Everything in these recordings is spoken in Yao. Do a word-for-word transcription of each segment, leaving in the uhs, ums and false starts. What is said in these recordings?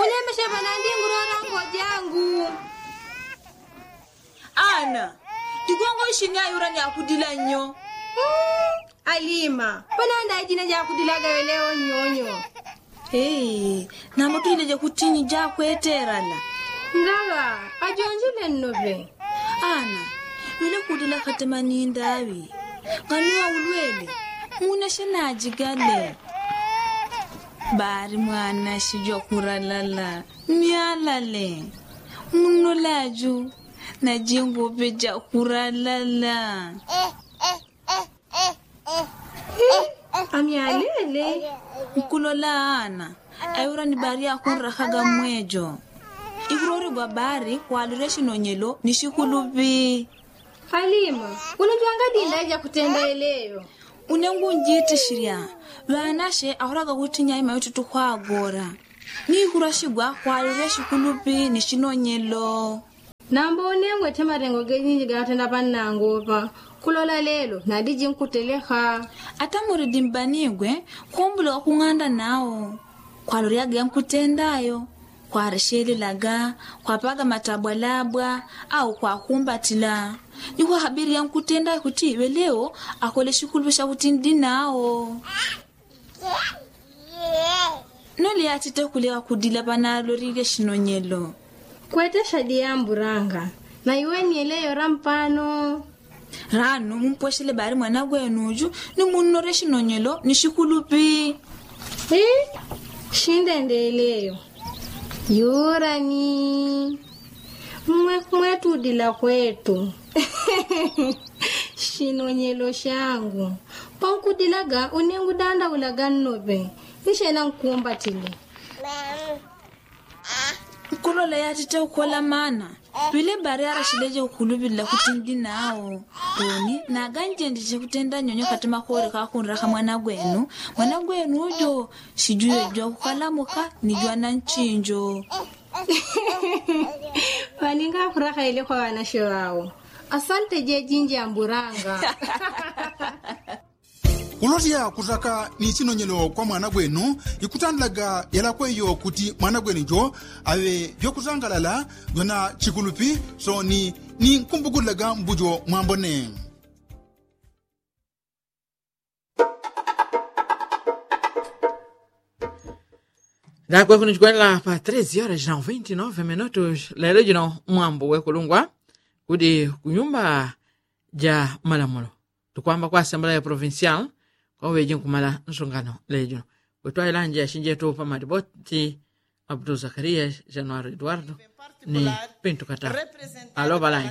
Lemeshe panandi ngurora ngo jangu. Ana, igongo ishini ayura ni akudila nyo. Alima, panandi aijina jakudilaga eleo nyonyo. Nambo tujileje kutinyi jakweterana. Ngawa ajonjile nnope. Ana, wile kudila katema ni ndawi. Nganuwa ulwele. Muna shenajigale. Bari mwana shijwa kuralala. Myalale. Muno laju. Najingupe jakuralala. Amyalele. Nkulola ana. Ayura ni bari akunrakaga mwejo. Ikurorigwa bari kwalire shinonyelo ni shikulupi. Alima, unajwanga dinda jakutenda eleyo. Unengu njiti shirya. Ŵanashe ahuraga kuti nyaima yotutu kwagora. Nikurashigwa kwalire shikulupi ni shinonyelo. Nambo unengwe te marengo gejinji gatenda panangopa. Kulola lelo nadiji nkuteleka. Atamuri dimbanigwe kumbulika kung'anda nao. Kwaloryaga yankutendayo. Kwareshelelaga, kwapaga matabwalabwa au kwakumbatila. Ni kwahabiri yankutendayo kuti iŵe leo akole shikulupi shakuti ndi nao. Nole yatite kuleka kudila panalolile shinonyelo. Kwete shadi yamburanga. Na iweni eleyo rampano. Ranu mumpweshele bari mwana gwenuju ni munnore shinonyelo ni shikulupi. Shindendeleyo. Yurani. Mwe mwetudila kwetu. Shinonyelo shangu. Pankudilaga unengu dandaulaga nnope. Nishena nkumbatile. Nkulola yatite ukola mana. Pile bari arashileje ukulupilila kuti ndi nao. Oni naganjendeje kutenda nyonyo kati makore kakunraka mwana gwenu. Mwana gwenu ujo shijuyejwa kukalamuka nijwa na nchinjo. Paninga kuraka ile kwa wanashe wao. Asante jejinji amburanga. Kulolya kutaka ni chinonyelo kwa mwana gwenu. Ikutandilaga yalakweyo kuti mwana gwenu jo aŵe vyokutangalala vyona chikulupi. So ni ni nkumbukulilaga mbujo mwambone. Ndakwe kunichikwenela pa treze horas na venti nove minutos lelo jino mwambo wekulungwa kuti kunyumba ja malamulo tukwamba kwa asamblea provincial. Kwa uŵeji nkumala nsungano lelo jino. Kutwaila nje yashinjetu pa madiboti abdu zakaria januari eduardo ni pintu kata. Alo balaini.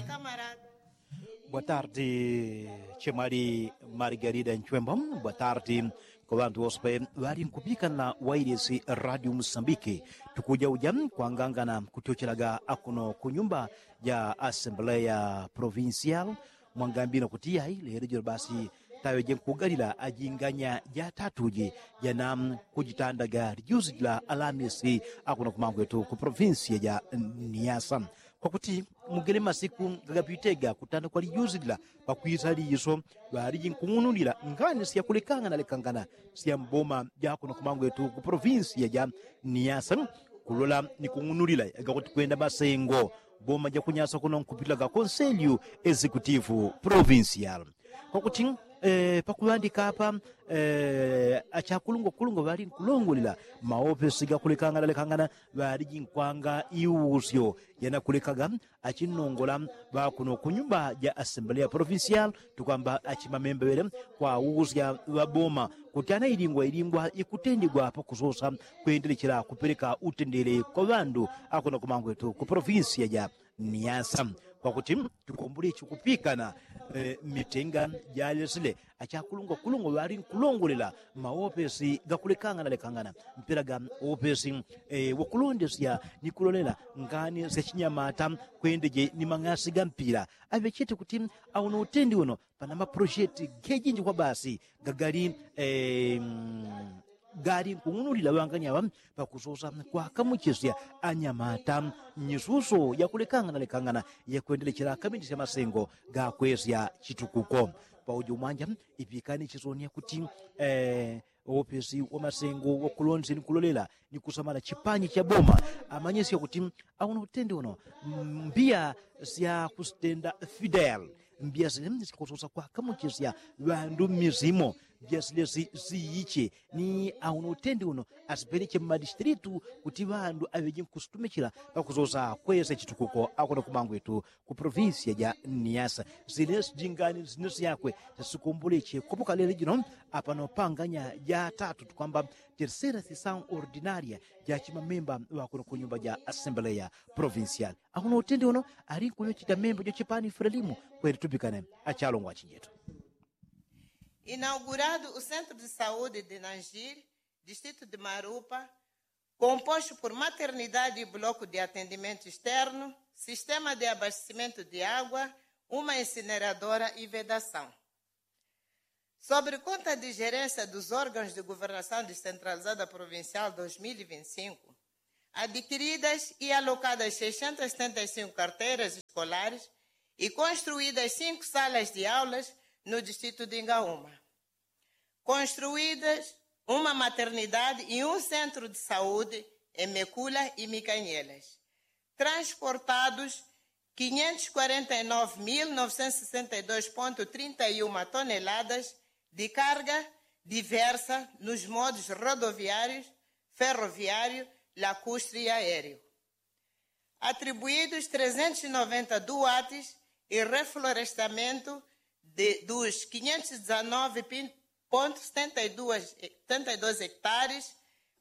Boa tarde. Chemwali margarida nchwembo. Boa tarde. Kwa ŵantu wose ŵali nkupikana wailesi radio musambiki. Tukujauja kwangangana kutyochelaga akuno kunyumba ja asamblea provincial. Mwangambino kuti yai lelo jino basi taŵeje nkugalila ajinganya jatatuji jana kujitandaga lijuzi jila alamisi akuno kumangwetu ku provinsia ja niasa. Kwakuti mugele masiku gagapitega kutanda kwa lijuzi jila pakwisa liso ŵaliji nkung'unulila ngani syakulekangana lekangana sya mboma jakuno kumangwetu ku provinsia ja niasa. Kulola ni kung'unulila gakuti kwenda masengo boma jakunyasa kuno nkupitilaga konselyu exekutivu provinsial. Kwakuti pakuŵandika apa achakulungwa kulungwa ŵali nkulongolela maopesi gakulekangana lekangana ŵaliji nkwanga iusyo yanakulekaga achinnongola ŵakuno kunyumba ja asamblea provincial tukwamba achimamemba ŵele kwausya ŵaboma kuti anailingwa ilingwa ikutendigwa pakusosa kwendelechela kupeleka utendele kwa ŵandu akuno kumangwetu ku provinsia ja niasa. Kwakuti tukumbule chikupikana mitenga jalesile achakulungwa kulungwa ŵali nkulongolela maopesi gakulekangana lekangana mpela ga opesi wokulondesya ni kulolela ngani sya chinyamata kwendeje ni mang'asi ga mpila. Aŵechete kuti auno utendi uno pana maprosheti gejinji kwa basi gagali gali nkung'unulila ŵangani aŵa pakusosa kwakamuchisya anyamata nyisuso yakulekangana lekangana yakwendelechela akamindisya masengo gakwesya chitukuko. Paujo mwanja ipikani chisonia kuti paopesi wa masengo wakulonzi ni kulolela ni kusamala chipanyi cha boma amanyesya kuti auno utende uno mbiya sya kusitenda fidel mbiya sile syakusosa kwakamuchisya ŵandu mmizimo mbiya sile siyiche ni auno utende uno asipeleche mmadistilitu kuti ŵandu aŵeje nkusutumichila pakusosa kwesa chitukuko akuno kumangwetu ku provincia ja niasa sile sijingani sine syakwe sasikomboleche kopokalele jino apano panganya ja tatu tukwamba tercera sisao ordinaria ja chimamemba ŵakuno ku nyumba ja asembeleya provincial akuno utende uno ali nkuyochita memba jochipani frelimu kweli tupikane achalongwa achinjetu. Inaugurado o centro de saúde de nangir, distrito de marupa, composto por maternidade e bloco de atendimento externo, sistema de abastecimento de água, uma incineradora e vedação. Sobre conta de gerência dos órgãos de governação descentralizada provincial dois mil e vinte e cinco, adquiridas e alocadas seiscentas e setenta e cinco carteiras escolares e construídas cinco salas de aulas no distrito de Ingaúma. Construídas uma maternidade e um centro de saúde em Mecula e Micanhelas. Transportados quinhentos e quarenta e nove mil novecentos e sessenta e dois ponto trinta e uma toneladas de carga diversa nos modos rodoviários, ferroviário, lacustre e aéreo. Atribuídos trezentos e noventa duates e reflorestamento de, dos quinhentos e dezanove ponto setenta e dois hectares,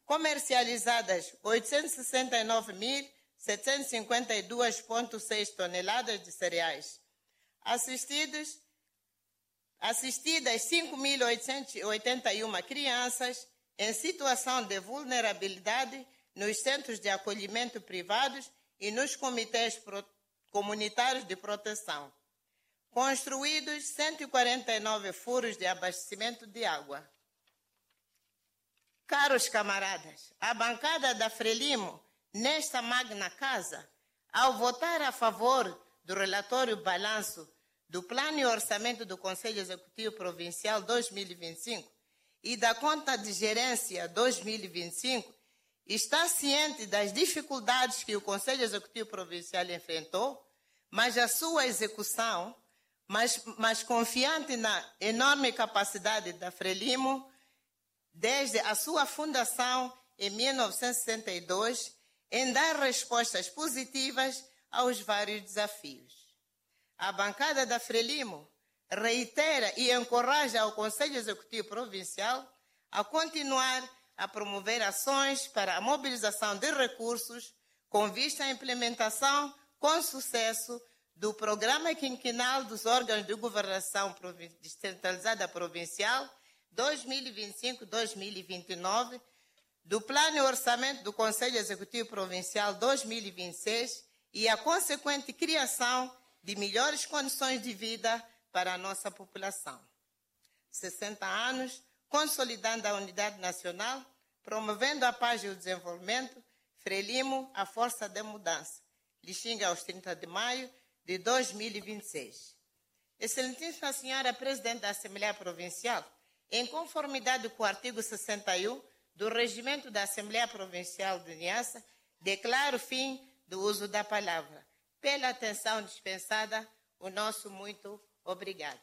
comercializadas oitocentos e sessenta e nove mil setecentos e cinquenta e dois ponto seis toneladas de cereais, assistidos assistidas cinco mil oitocentos e oitenta e uma crianças em situação de vulnerabilidade nos centros de acolhimento privados e nos comitês comunitários de proteção. Construídos cento e quarenta e nove furos de abastecimento de água. Caros camaradas, a bancada da frelimo nesta magna casa, ao votar a favor do relatório balanço do plano e orçamento do conselho executivo provincial dois mil e vinte e cinco e da conta de gerência dois mil e vinte e cinco, está ciente das dificuldades que o conselho executivo provincial enfrentou, mas a sua execução mas confiante na enorme capacidade da frelimo desde a sua fundação em mil novecentos e sessenta e dois em dar respostas positivas aos vários desafios. A bancada da frelimo reitera e encoraja ao conselho executivo provincial a continuar a promover ações para a mobilização de recursos com vista à implementação com sucesso do programa quinquenal dos órgãos de governação descentralizada provincial dois mil e vinte e cinco dois mil e vinte e nove, do plano e orçamento do conselho executivo provincial dois mil e vinte e seis e a consequente criação de melhores condições de vida para a nossa população. Sessenta anos consolidando a unidade nacional, promovendo a paz e o desenvolvimento. Frelimo, a força de mudança. Lixinga aos trinta de maio de dois mil e vinte e seis. Excelentíssima senhora presidente da assembleia provincial, em conformidade com o artigo sessenta e um do regimento da assembleia provincial de niassa, declaro fim do uso da palavra. Pela atenção dispensada, o nosso muito obrigado.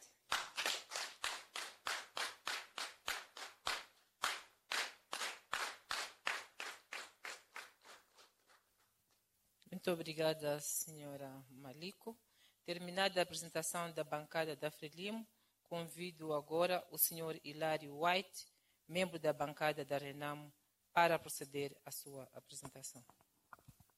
Muito obrigada, senhora Maliko. Terminada a apresentação da bancada da Frelimo, convido agora o senhor Hilário White, membro da bancada da Renamo, para proceder à sua apresentação.